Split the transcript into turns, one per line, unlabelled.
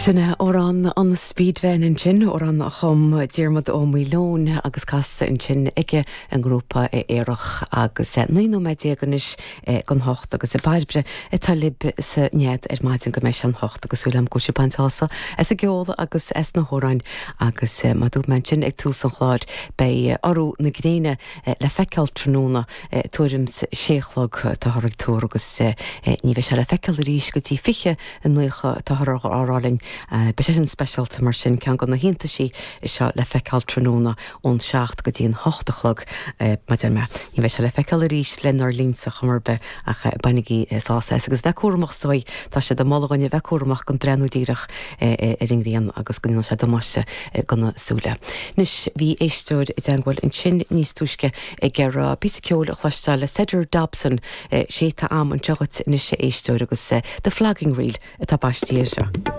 Sin é amhrán an Speedvan ansin, amhrán a chum Diarmuid Ó Maoileoin agus casta ansin ag an ngrúpa Aerach agus 19 nóiméad anois don hocht agus Bairbre atá libh sa nead ar maidin go mbeidh sé an hocht agus súil agam go bhfuil sibh ag baint sásamh as an gceol agus as na hamhráin agus mar a dúirt mé ansin ag tús an chláir beidh urú na gréine le feiceáil tráthnóna tuairim 's sé a chlog táthar ag tuar agus ní bheidh sé le feiceáil arís go dtí 20:90 táthar á rá linn. Beidh sé sin speisialta mar sin, ceann de na hiontaisí seo le feiceáil tráthnóna ón 7 go dtí an 8 a chlog, mar a deir mé. Ní bheidh sé le feiceáil arís lenár linnse chuma ar bith ach bainigí sásamh as agus bheith cúramach is dóigh, tá siad ag moladh dhuine bheith cúramach gan breathnú díreach ar an ngrian agus go ndéanann sé damáiste do na súile. Anois, bhí éisteoir i dteangmháil ansin níos túisce ag iarraidh píosa ceoil a chloisteáil le Cedar Dobson. Sé atá a'm anseo dhuit anois a éisteoir agus The Flogging Reel atá baistí air seo.